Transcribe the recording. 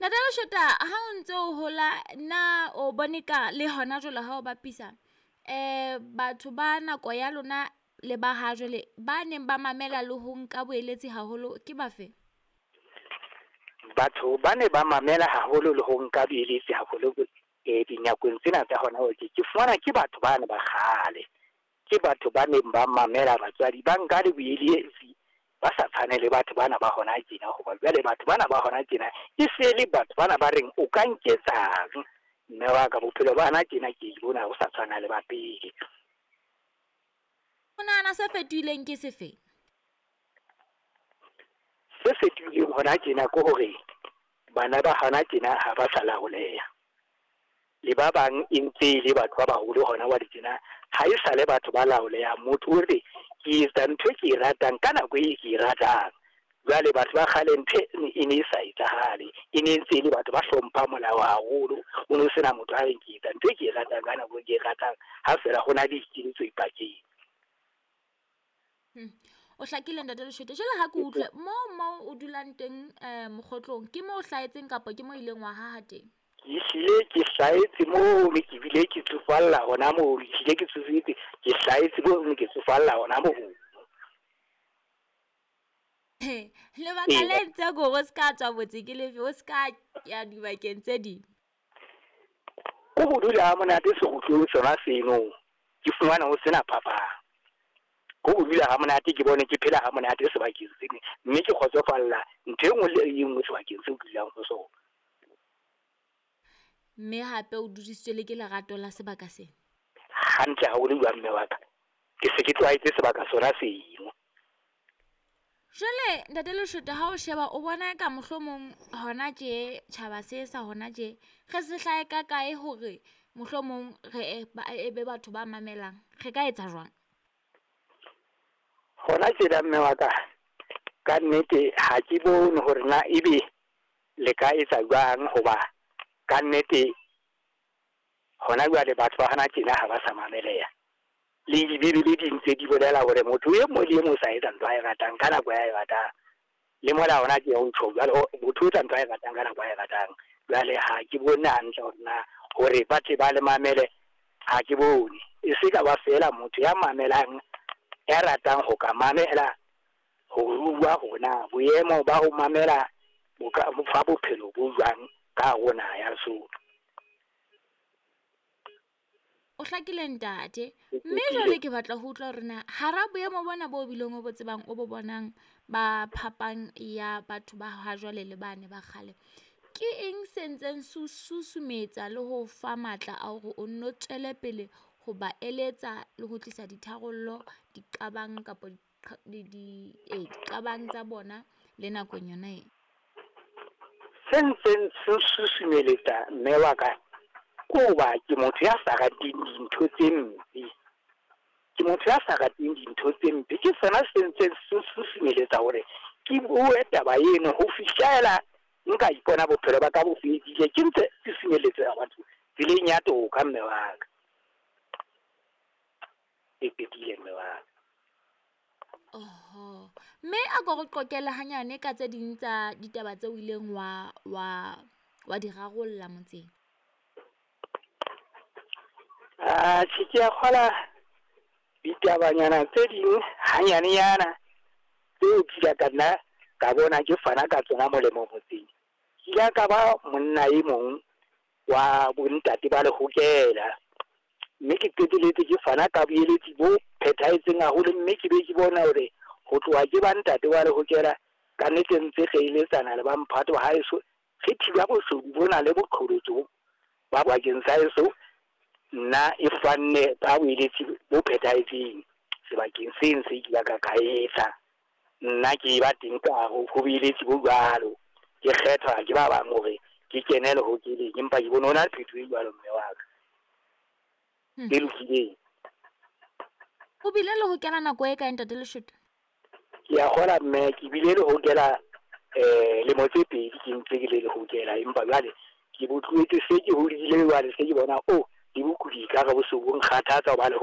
Ntate Leshota, ha o ntse o hola na o bone ka le hona jwale ha o bapisa batho ba nako ya lona le ba ha jwale ba neng ba mamela le ho nka boeletsi haholo ke bafe? Batho ba ne ba mamela haholo le ho nka boeletsi haholo dinakong tsena tsa hona ke fumana ke batho bane ba kgale. Ke batho ba neng ba mamela batswadi, ba nka le boeletsi, ba sa tshwane le batho bana ba hona tjena. Hoba jwale batho bana ba hona tjena e se le batho bana ba reng o ka nketsang, mme wa ka bophelo ba hona tjena ke bona ho sa tshwana le ba pele. O nahana se fetohileng ke sefe? Se fetohileng hona tjena ke hore bana ba hona tjena ha ba sa laoleha. Le ba bang e ntse e le batho ba baholo hona jwale tjena, ha e sa le batho ba laolehang. Motho o re ke etsa ntho e ke e ratang ka nako e ke e ratang. Jwale batho ba kgale ntho e ne e sa etsahale, e ne ntse e le batho ba hlomphang molao haholo. O no sena motho a reng ke etsa ntho e ke e ratang ka nako e ke e ratang, ha fela ho na le dikeletso dipakeng. O hlakile Ntate Leshwete. Jwale ha ke utlwe moo o dulang teng mokgotlong, ke mo o hlahetseng kapa ke mo ileng wa haha teng? Ke hlile ke hlahetse moo, mme ke bile ke tsofalla hona moo, ehlile ke tsofetse, ke hlahetse moo, mme ke tsofalla hona moo. Lebaka le entseng hore o ska tswa motse ke lefe, o ska ya dibakeng tse ding? Ko ho dula ha monate sekgutlong sona seno, ke fumana ho sena phapang. Ko ho dula ha monate, ke bone ke phela ha monate sebakeng seno, mme ke kgotsofalla ntho e nngwe le e nngwe sebakeng seo ke dulang ho sona. Mme hape o dudisitswe le ke lerato la sebaka sena? Hantle haholo jwang mme wa ka. Ke se ke tlwaetse sebaka sona seno. Jwale Ntate Leshwete, ha o sheba o bona ka mohlomong hona tje tjhaba se sa hona tje re se hlahe ka kae hore mohlomong re e be batho ba mamelang, re ka etsa jwang? Hona tjena mme wa ka, ka nnete ha ke bone hore na ebe le ka etsa jwang, hoba ka nnete hona jwale batho ba hona tjena ha ba sa mameleha. Le dibibele di ntse di bolela hore motho e mong le e mong o sa etsa ntho ae ratang ka nako ya e ratang. Le mona hona ke ho tjho jwale motho o etsa ntho ae ratang ka nako ae ratang. Jwale ha ke bone hantle hore na hore ba tle ba le mamele, ha ke bone. E se ka ba feela motho ya mamelang, ya ratang ho ka mamela, ho rua hore na boemo ba ho mamela bo ka fa bophelo bo jwang ka hare ho naha ya Lesotho. O hlakile ntate. Mme jwale ke batla ho utlwa hore na hara boemo bona bo bileng o bo tsebang, o bo bonang ba phapang ya batho ba ha jwale le bane ba kgale, ke eng se ntseng se o susumetsa le ho fa matla a hore o nno tswele pele ho ba eletsa le ho tlisa ditharollo diqabang kapa diqabang tsa bona le nakong yona e? Se ntseng se susumeletsa mme wa ka ke hoba ke motho ya sa rateng dintho tse mpe. Ke motho ya sa rateng dintho tse mpe. Ke sona se ntseng se susumeletsa hore ke bue taba eno ho fihlela nka ipona bophelo ba ka bo fedile. Ke ntse susumeletsa batho tseleng ya toka mme wa ka. E qetile mme wa ka. Oho. Mme a ko re qoqele hanyane ka tse ding tsa ditaba tseo o ileng wa di rarolla motseng. Atjhe, ke a kgola ditabanyana tse ding hanyanenyana tseo ke ile ka nna ka bona ke fana ka tsona molemo motseng. Ke ile ka ba monna e mong wa bontate ba lehokela, mme ke qetelletse ke fana ka boeletsi bo phethahetseng haholo, mme ke be ke bona hore ho tloha ke ba ntate wa lehokela ka nnete ntse re eletsana le ba mphato wa haeso, re thiba boshodu bona le boqholotso ba bakeng sa heso. Nna e fanne ka boeletsi bo phethahetseng sebakeng seng se ke ka ka etsa. Nna ke ba teng ka hare ho boeletsi bo jwalo, ke kgethwa ke ba bang hore ke kene lehokeleng, empa ke bone ho na le phethoho e jwalo mme wa ka. E lokileng. O bile le ho kena nako e kae Ntate Leshwete? Ke a kgola mme, ke bile le ho kena lemo tse pedi ke ntse ke le lehokela, empa jwale ke bo tlohetse se ke hodile jwale se ke bona o le bokudi ka re bo se bo nkgathatsa hoba le